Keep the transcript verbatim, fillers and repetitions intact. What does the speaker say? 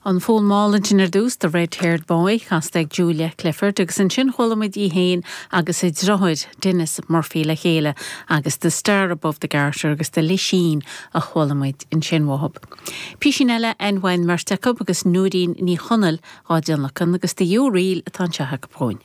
An fonn mall ansin ar dtús The Red Haired Boy casta ag Julia Clifford agus ansin chuala muid í féin agus a deartháir Denis Murphy le chéile agus The Star Above the Garter agus The Lisheen a chuala muid ansin uathu. Písín eile an bheirt acu agus Nóirín Ní Chonaill á dtionlacan agus The Yew Reel atá anseo acu.